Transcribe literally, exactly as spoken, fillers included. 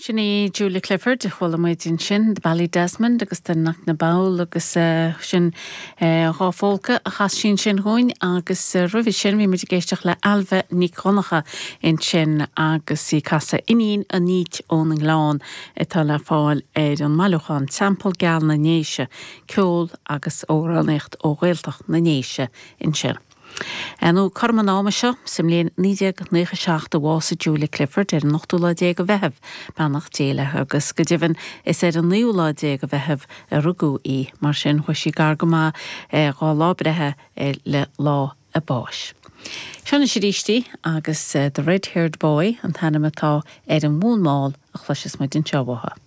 Sin í Julia Clifford a chuala muid ansin de Ballydesmond agus de Knocknabowl agus uh, sin uh, dhá pholca a chas sí ansin dúinn agus uh, roimhe sin bhí muid ag éisteacht le Ailbhe Nic Dhonncha ansin agus í ag casadh Iníon an Fhaoit ón nGleann atá le fáil ar an mbailiúchán Teampall Geal na nDéise, ceol agus amhránaíocht ó Ghaeltacht na nDéise ansin. Nó cothrom an ama seo sa mbliain naoi déag nócha seacht a bhásaigh Julia Clifford ar an ochtú lá déag de Mheitheamh beannacht Dé léi agus go deimhin is ar an naoú lá déag de Mheitheamh a rugadh í mar sin chuaigh sí gar go maith dhá lá breithe le lá a báis. Seo anois arís í agus The Red Haired Boy an t-ainm atá ar an bhfonn mall a chloisfeas muid anseo uaithi.